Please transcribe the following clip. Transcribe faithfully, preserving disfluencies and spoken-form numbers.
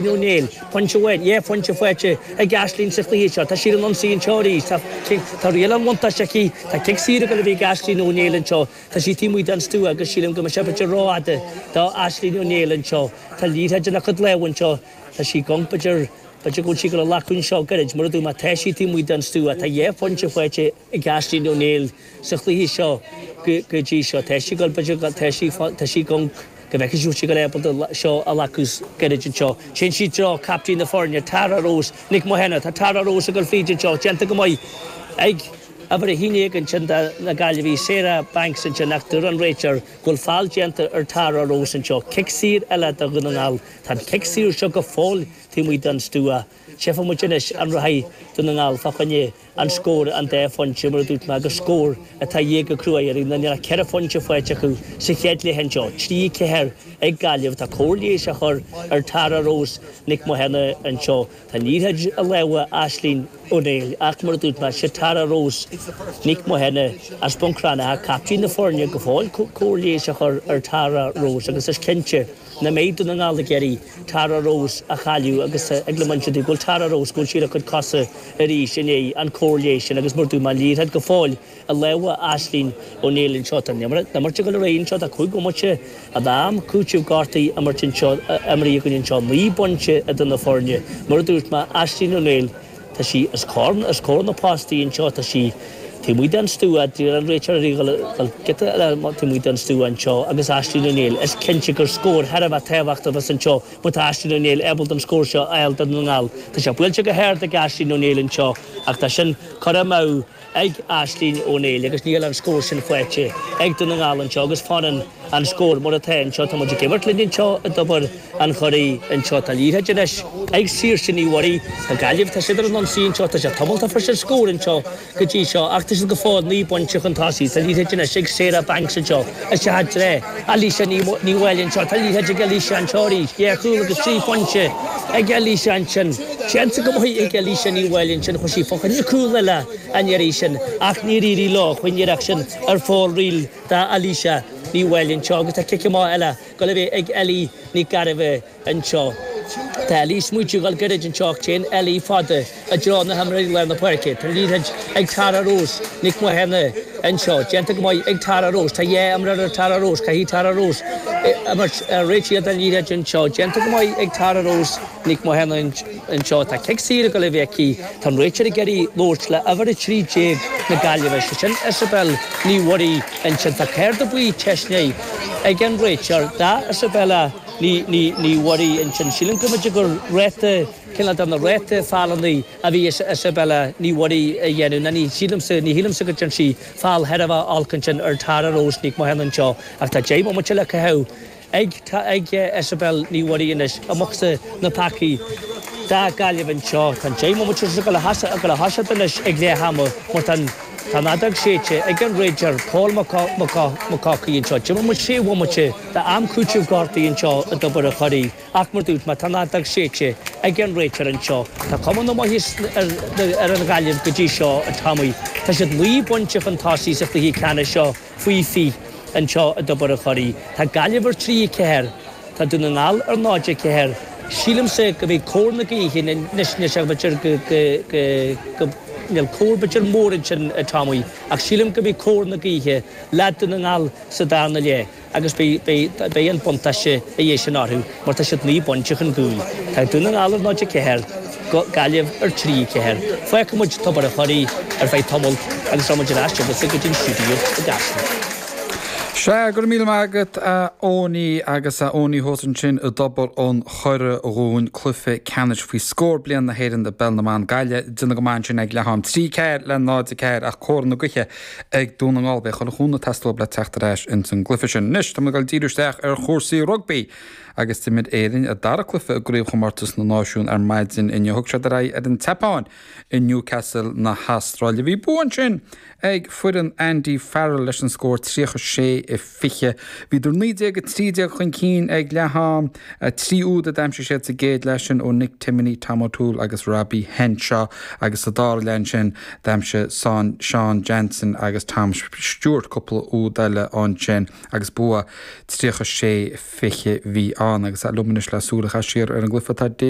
Ó Néill, pointe amháin, dhá phointe faighte ag Aisling sa chluiche seo. Tá sí ar an ionsaí anseo arís. Tá tá riail an bhuntáiste aici. Tá cic saor ag dul a bheith ag Aisling Ó Néill anseo. Tá sí taobh amuigh den stua agus sílim go mbeidh sé b'fhéidir rófhada do Aisling Ó Néill anseo. Tá liathróid ina cuid lámh anseo. Tá sí gonc b'fhéidir b'fhéidir go bhfuil sí ag dul a ghlacadh anseo gairid. Mar a dúirt mé, tá sí taobh amuigh den stua. Tá dhá phointe faighte ag Aisling Ó Néill sa chluiche seo go go dtí seo. Tá sí ag dul b'fhéidir tá sí tá sí gonc. Go bhfeicfidh sí go ábalta seo a ghlacadh gairid anseo. Téann sí i dtreo captaen na foirne, Tara Rose Nic Mathúna. Tá Tara Rose ag dul fríd anseo, déanta go maith ag uimhir a haon déag ansin do na Gaillimhigh, Sarah Banks ansin ach deir an réiteoir go bhfuil feall déanta ar Tara Rose anseo. Cic saor eile do Dhún na nGall. Tá an cic saor seo go fóill taobh amuigh den stua. Tchífidh muid anois an rachaidh Dún na nGall fá choinne an scór an dá phointe, mar a dúirt mé, agus scór atá a dhíth go cruaidh ar na ceithre phointe faighte acu sa chéad leath anseo. Trí ceathair ag Gaillimh. Tá cóir leighis á chur ar Tara Rose Nic Mathúna anseo. Tá an liathróid i lámha Aisling Ó Néill ach mar a dúirt mé, sé Tara Rose Nic Mathúna as Bun Cranncha, captaen na foirne, go fóill cóir leighis á chur ar Tara Rose agus is cinnte nach mbeidh Dún na nGall ag iarraidh Tara Rose a chailleadh agus ag le muintir go bhfuil Tara Rose go bhfuil sí ar a cuid cosa arís i ndiaidh an cóir leighis sin agus mar a dúirt mé an liathróid go fóill i lámha Aisling Ó Néill anseo. Tá an imirt ag dul ar aghaidh anseo, tá cúig bhomaite d'am cúitimh gortaithe imirt anseo, imrithe againn anseo, naoi bpointe idir na foirne. Mar a dúirt mé, Aisling Ó Néill, tá sí os comhair, os comhair na postaí anseo, tá sí taobh amuigh den stua, d'iarr an réiteoir uirthi dhul, dhul giota eile taobh amuigh den stua anseo agus Aisling Ó Néill, is cinnte gur scór thar a bheith tábhachtach a bheas anseo má tá Aisling Ó Néill ábalta an scór seo a fháil do Dhún na nGall. Tá sé buailte go hard ag Aisling Ó Néill anseo ach tá sin curtha amú ag Aisling Ó Néill agus níl an scór sin faighte ag Dún na nGall anseo agus fanann an scór mar atá anseo. Tá muid ag imirt linn anseo i dTobar an Churraigh anseo. Tá liathróid anois ag Saoirse Ní Mhuirí. Tá Gaillimh, tá siad ar an ionsaí anseo. Tá sé tumultach fuair siad scór anseo go dtí seo ach tá siad go fóill naoi bpointe chun tosaigh. Tá liathróid anois ag Sarah Banks anseo. Isteach i dtreo Alicia Ní Ní Mháille anseo. Tá liathróid ag Alicia anseo arís. Dhá chúl agus trí phointe ag Alicia ansin. Déanta go maith ag Alicia Ní Mháille ansin. Chuaigh sí fá choinne cúl eile an iarraidh sin ach níor éirigh leo. Chuaigh an iarracht sin ar fóraoil d'Alicia Ní Mháille anseo agus tá cic amach eile ag dul a bheith ag Ellie Nic Gairbheith anseo. Tá Ellie smaoitiú dhul gairid anseo ach téann Ellie fada i dtreo na himreoirí lár na páirce. Tá an liathróid ag Tara Rose Nic Mathúna anseo. Déanta go maith ag Tara Rose. Tá dhá imreoir ar Tara Rose. Caithfidh Tara Rose imirt réitigh don liathróid anseo. Déanta go maith ag Tara Rose Nic Mathúna anseo. Tá cic saor ag dul a bheith aici. Tá an réiteoir ag iarraidh labhairt le uimhir a trí déag na Gaillimhe, sé sin Isabel Ní Mhuirí ansin. Tá cárta buí teisnithe ag an réiteoir d'Isabella Ní Ní Ní Mhuirí ansin. Sílim go mb'fhéidir gur ráta, cineál de na ráta feallanna a bhí Isabella Ní Mhuirí a dhéanamh. Ná ní sílimse, ní shílimse go dtearn sí feall thar a bheith olc ansin ar Tara Rose Nic Mathúna anseo ach tá deich mbomaite le caitheamh ag ag Isabel Ní Mhuirí anois amach sa na pacaí do Ghaillimh anseo. Tá an deich mbomaite ag dul a thoiseacht anois ag leath ama mar tá an tá an fheadóg séidte ag an réiteoir Paul Mac Mac anseo. D'imir muid sé bhomaite d'am cúitimh gortaithe anseo i dTobar an Churraigh ach mar dúirt mé tá an fheadóg séidte ag an réiteoir anseo. Tá cuma na maitheas ar ar an Ghaillimh go dtí seo a Tommy. Tá siad naoi bpointe chun tosaigh sa chluiche ceannais seo faoi fiche anseo i dTobar an Churraigh. Tá Gaillimh ar trí a ceathair, tá Dún na nGall ar náid a ceathair. Sílimse go mbeidh cóir na gaoithe anois anois b'fhéidir go go go go níl cóir b'fhéidir mór ansin a Tommy ach sílim go mbeidh cóir na gaoithe le Dún na nGall sa darna leath agus beidh beidh beidh an buntáiste a dhiaidh sin orthu mar tá siad naoi bpointe chun cúil. Tá Dún na Ngall ar náid a ceathair, Gaillimh ar trí a ceathair. Fágfaidh muid Tobar an Churraigh ar feadh tamaill agus rachaidh muid ar ais chugatsa go dtí an stiúideo i gCaiseal. Sea, go raibh míle maith agat a Owenie agus a Owenie thuas ansin i dTobar an Churraigh dhúinn, cluiche ceannais faoi scór bliain na hÉireann i bPeil na mBan Gaillimh, déanamh go maith ansin ag leath am trí ceathair le náid a ceathair ach cóir na gaoithe ag Dún na nGall. Beidh chuile chúnamh ag teastáil le teacht ar ais ins an gcluiche sin. Anois, tá muid ag dul díriú isteach ar chúrsaí rugbaí agus d'imir Éirinn a dara cluiche i gCraobhchomórtas na Náisiún ar maidin inniu. Thug siad ar aghaidh ar an tSeapáin i Newcastle na hAstráile. Bhí bua ansin ag foireann Andy Farrell leis an scór tríocha sé fiche. Bhíodar naoi déag a trí déag chun cinn ag leath am, trí úd a d'aimsigh siad sa gcéad leath sin ó Nick Timoney, Tom O'Toole agus Robbie Henshaw agus sa dara leath ansin d'aimsigh Sean Jansen agus Tom Stewart cúpla úd eile ansin agus bua tríocha sé fiche bhí ann agus liom anois le súil a chaitheamh siar ar an gcluiche tá David